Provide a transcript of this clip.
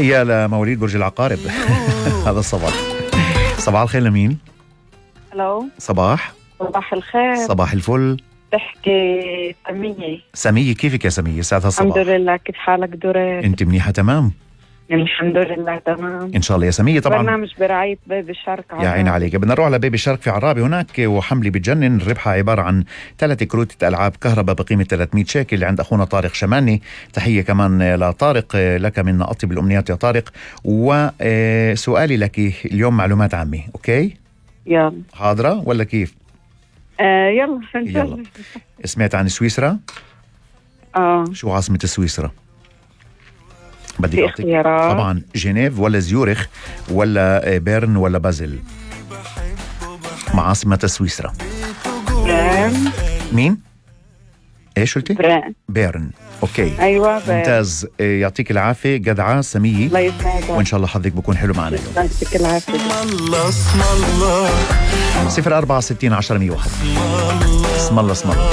تحية لمواليد برج العقارب. هذا الصباح. صباح الخير لمين؟ الو صباح الخير. صباح الفل. تحكي سمية، كيفك يا سمية؟ سعد هالصباح. الحمد لله، كيف حالك دوري؟ انت منيحة تمام؟ الحمد لله تمام. ان شاء الله يا سمية. طبعا برنامج برعاية بيبي شارك. يا عين عليك. بدنا نروح على بيبي شارك في عرابي هناك، وحملة بتجنن. ربحها عبارة عن 3 كروت ألعاب كهرباء بقيمة 300 شيكل عند أخونا طارق شماني. تحية كمان لطارق، لك من أطيب الأمنيات يا طارق. وسؤالي لك اليوم معلومات عامة، أوكي؟ يلا حاضرة ولا كيف؟ يلا. سمعت عن سويسرا؟ شو عاصمة سويسرا؟ بدي في أعطيك اختيارات. طبعا جنيف ولا زيورخ ولا بيرن ولا بازل. مع عاصمة سويسرا برين. مين؟ ايش قلتي؟ برين. بيرن. اوكي ايوه برين. ممتاز. يعطيك العافية جدعة سمية، الله يسعدك وان شاء الله حظك بكون حلو معنا اليوم. يعطيك العافية. 0460 10 101. اسم الله اسم الله.